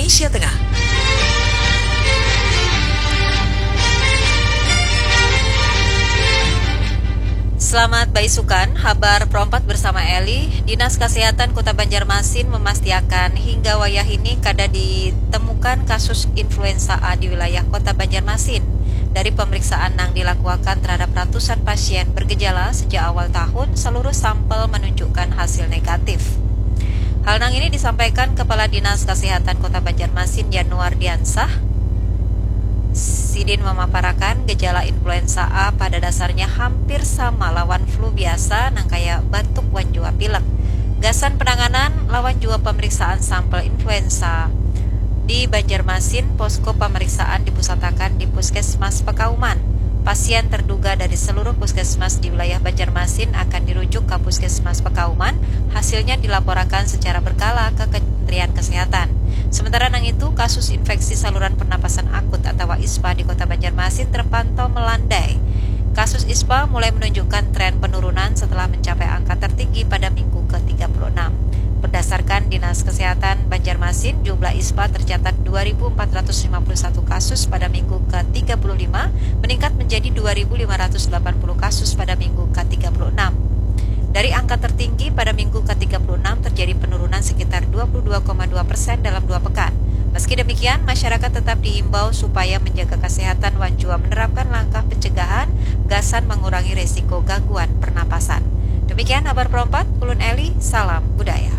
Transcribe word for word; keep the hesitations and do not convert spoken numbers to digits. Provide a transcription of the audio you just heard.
Indonesia Tengah. Selamat baisukan, habar perompat bersama Eli. Dinas Kesehatan Kota Banjarmasin memastiakan hingga wayah ini kada ditemukan kasus influenza A di wilayah Kota Banjarmasin. Dari pemeriksaan nang dilakuakan terhadap ratusan pasien bergejala sejak awal tahun, seluruh sampel menunjukkan hasil negatif. Hal nang ini disampaikan Kepala Dinas Kesehatan Kota Banjarmasin, Yanuar Diansah. Sidin memaparakan gejala influenza A pada dasarnya hampir sama lawan flu biasa, nang kaya batuk wan jua pilek. Gasan penanganan lawan jua pemeriksaan sampel influenza di Banjarmasin, posko pemeriksaan dipusatakan di Puskesmas Pekauman. Pasien terduga dari seluruh puskesmas di wilayah Banjarmasin akan dirujuk ke Puskesmas Pekauman, hasilnya dilaporakan secara berkala ke Kementerian Kesehatan. Sementara nang itu, kasus infeksi saluran pernapasan akut atau ISPA di Kota Banjarmasin terpantau melandai. Kasus ISPA mulai menunjukkan tren penurunan setelah mencapai angka tertinggi pada minggu ke tiga puluh enam. Berdasarkan Dinas Kesehatan Banjarmasin, jumlah ISPA tercatat dua ribu empat ratus lima puluh satu kasus pada minggu ke tiga puluh lima, meningkat menjadi dua ribu lima ratus delapan puluh kasus pada minggu ke tiga puluh enam. Dari angka tertinggi pada minggu ke tiga puluh enam, terjadi penurunan sekitar dua puluh dua koma dua persen dalam dua pekan. Meski demikian, masyarakat tetap diimbau supaya menjaga kesehatan wan jua menerapkan langkah pencegahan gasan mengurangi resiko gangguan pernapasan. Demikian habar perompat, ulun Eli, salam budaya.